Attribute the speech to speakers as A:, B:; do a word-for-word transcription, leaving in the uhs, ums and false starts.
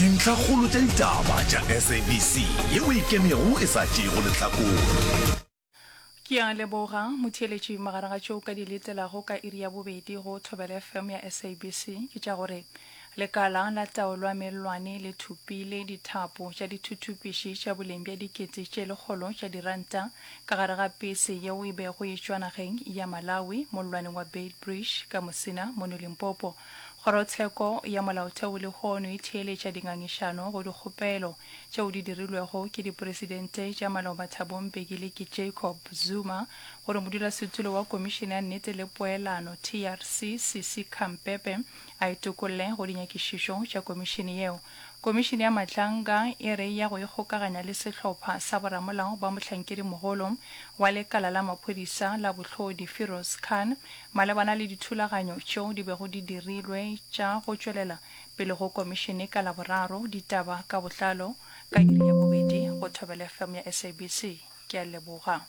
A: Dintlhakgolo tša ditaba tša S A B C yeo e ikemego e sa tšeego lehlakore.
B: Ke a leboga motheeletši. Magareng ga tšeo ka di letelago ka iri ya bobedi go Thobela F M ya S A B C ke tša gore lekala la taolo ya mellwane le thopile dithapo tša dithuthupiši tša boleng bja dikete tše lekgolo tša diranta ka gare ga pese yeo e bego e tšwa nageng ya Malawi mollwaneng wa Beitbridge ka Musina mono Limpopo. Kgorotsheko ya molaotheo lehono e theeletša dingangišano go dikgopelo tšeo di dirilwego ke dipresidente tša maloba Thabo Mbeki le ke Jacob Zuma gore modulasetulo wa Komišene ya Nnete le Poelano T R C Sisi Khampepe a itokolle go dinyakišišo tša komišene yeo. Komišene ya Madlanga e re ya go ikgokaganya le sehlopha sa boramolao ba mohlankedimogolo wa lekala la maphodisa la bohlodi Firoz Khan malebana le dithulaganyo tšeo di bego di dirilwe tša go tšwelela pele go komišene ka Laboraro. Ditaba ka botlalo ka iri ya bobedi go Thobela F M ya S A B C. Ke a leboga.